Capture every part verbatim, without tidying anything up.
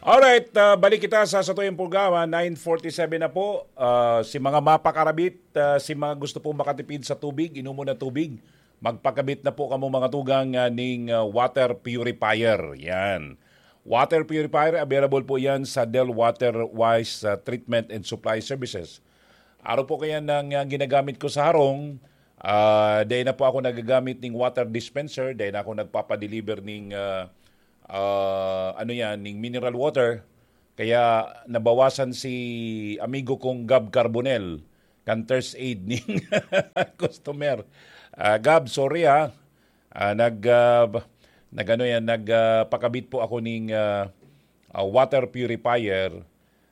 Alright, ah, balik kita sa satuyang programa, nine forty-seven na po. Ah, si mga mapakarabit, ah, si mga gusto pong makatipid sa tubig, inomon na tubig, magpakabit na po kamo, mga tugang, ah, ning, ah, water purifier. Yan. Water purifier, available po yan sa Del Water Wise, ah, Treatment and Supply Services. Araw po kaya nang, ah, ginagamit ko sa harong, ah, dahil na po ako nagagamit ning water dispenser, dahil na ako nagpapadeliver ning, ah, ah, ano yan, ning mineral water. Kaya nabawasan si amigo kong Gab Carbonel, kan Thirst Aid ning customer. Ah, Gab, sorry, ah. Ah, nag, ah, ba- nag-ano yan, nag, ah, pakabit po ako ning, ah, ah, water purifier.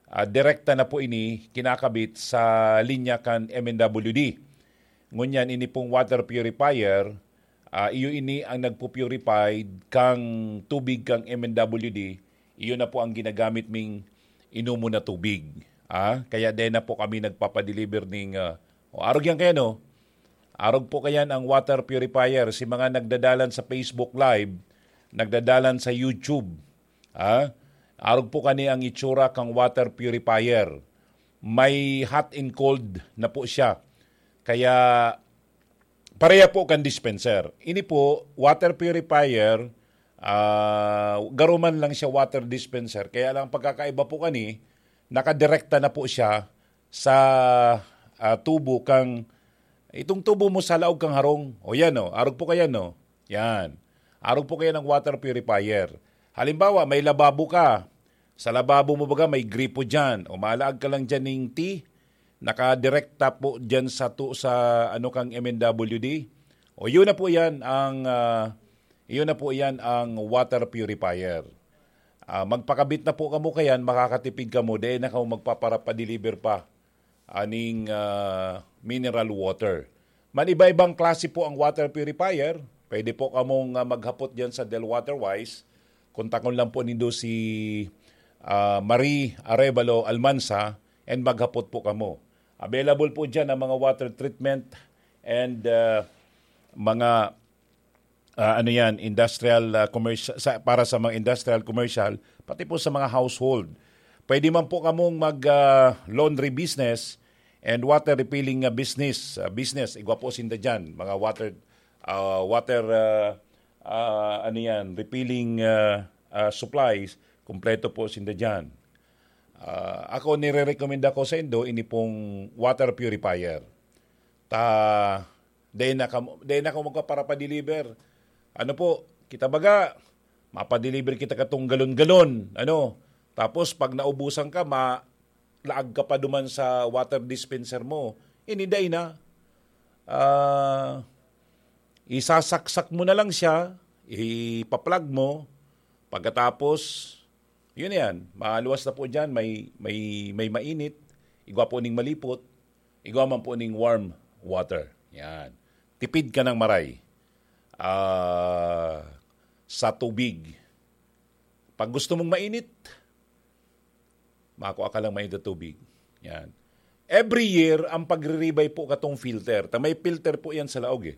Ah, direkta na po ini kinakabit sa linya kan M N W D. Ngunyan, ini pong water purifier, ah, iyo ini ang nagpu-purify kang tubig kang M N W D. Iyo na po ang ginagamit ming inomon na tubig. Ah, kaya din na po kami nagpapadeliver ning, ah, o, arog yan kaya, no? Arog po kayan ang water purifier. Si mga nagdadalan sa Facebook Live, nagdadalan sa YouTube, ah, arog po kani ang itsura kang water purifier. May hot and cold na po siya. Kaya, pareha po kan dispenser. Ini po, water purifier, ah, garo man lang siya water dispenser. Kaya lang pagkakaiba po kani, nakadirekta na po siya sa, ah, tubo kang, itong tubo mo sa laog kang harong. O yan, o. Arog po kayan, no? Yan. Arog po kayan ang water purifier. Halimbawa, may lababo ka. Sa lababo mo baga, may gripo dyan. O malaag ka lang dyan ning tea. Nakadirekta po dyan sa, tu- sa ano kang M N W D. O yun na po yan ang, ah, yun na po yan ang water purifier. Ah, magpakabit na po kamo kayan, makakatipid kamo, dahil na kamo magpaparapadeliver pa aning, ah, mineral water. Man iba-ibang klase po ang water purifier. Pwede po kamong, ah, maghapot dyan sa Del Water Wise. Kontakon lang po nindo si, ah, Marie Arevalo Almansa and maghapot po kamo. Available po dyan ang mga water treatment and, ah, mga, ah, ano yan, industrial, ah, commercial, sa, para sa mga industrial, commercial, pati po sa mga household. Pwede man po kamong mag, ah, laundry business and water refilling, ah, business. Ah, business, igwa po sinda dyan. Mga water, ah, water, ah, ah, ano yan, refilling, ah, ah, supplies, kompleto po sinda dyan. Ah, ako, nire-recommenda ko sa indo, ini pong water purifier. Ta, dai na kamo, dai na kamo magpaparapadeliver. Ano po, kita baga, mapadeliver kita katong galon-galon, ano? Tapos, pag naubusan ka, ma-, laag ka pa duman sa water dispenser mo. Ini dai na. Ah, isasaksak mo na lang siya, ipa-plug mo, pagkatapos, yun na yan. Maluwas na po dyan, may, may, may mainit, igwa po ning malipot, igwa man po ning warm water. Yan. Tipid ka ng maray, ah, sa tubig. Pag gusto mong mainit, makua ka lang mainit na tubig. Yan. Every year, ang pagriribay po katong filter. Ta may filter po yan sa laog eh.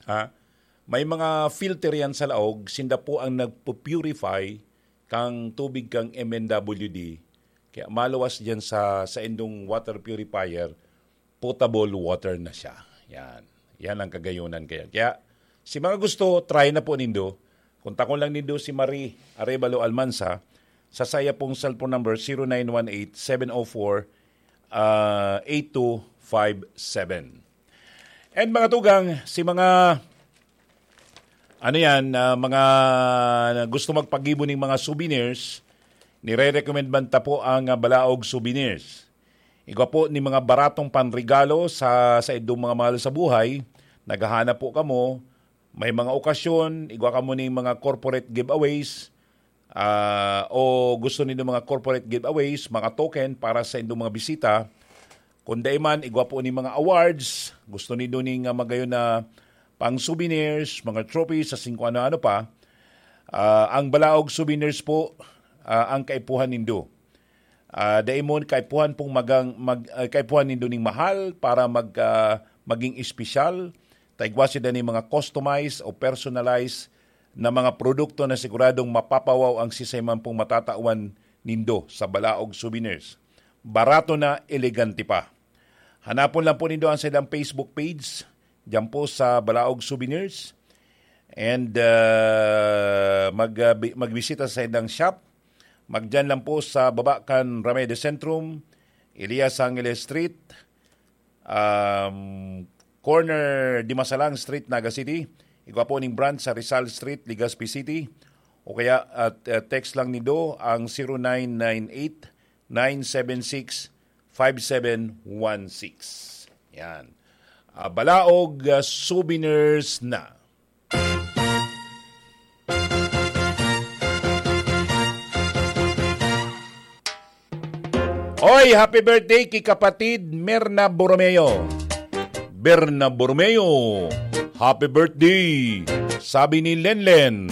Ha? May mga filter yan sa laog, sinda po ang nagpo-purify kang tubig kang M N W D. Kaya maluwas dyan sa, sa indong water purifier, potable water na siya. Yan. Yan ang kagayunan kaya. Kaya, si mga gusto, try na po nindo. Kontakon lang nindo si Marie Arevalo Almansa sa saya pong cellphone number, zero nine one eight, seven oh four, ah, eight two five seven. And mga tugang, si mga, ano yan, ah, mga gusto magpagibo ning mga souvenirs, nire-recommend man ta po ang, ah, Balaog Souvenirs. Igwa po ni mga baratong panregalo sa, sa indong mga mahal sa buhay. Naghahanap po kamo, may mga okasyon, igwa kamo ning mga corporate giveaways, ah, o gusto nindo mga corporate giveaways, mga token para sa indong mga bisita. Kung dai man, igwa po ni mga awards, gusto nindo ning, ah, magayon na pang souvenirs, mga trophies, sa singko ano-ano pa. Ah, ang Balaog Souvenirs po, ah, ang kaipuhan nindo. Ah, dai mo kaipuhan pong magang-, mag-, ah, kaipuhan nindo ning mahal para mag-, ah, maging espesyal. Ta igwa sinda ning mga customized o personalized na mga produkto na siguradong mapapawaw ang sisay man pong matatawan nindo sa Balaog Souvenirs. Barato na, elegante pa. Hanapon lang po nindo ang silang Facebook page, diyan po sa Balaog Souvenirs. And uh, mag, uh, bi- magbisita sa silang shop. Magdiyan lang po sa baba kan Ramey de Centrum, Elias Angeles Street, um, corner Dimasalang Street, Naga City. Igwa po ning branch sa Rizal Street, Legazpi City. O kaya at uh, text lang nindo ang zero nine nine eight nine seven six five seven one six. Yan. Ah, Balaog ah, Souvenirs na. Oy, happy birthday ki kapatid Mirna Borromeo. Berna Borromeo, happy birthday! Sabi ni Lenlen.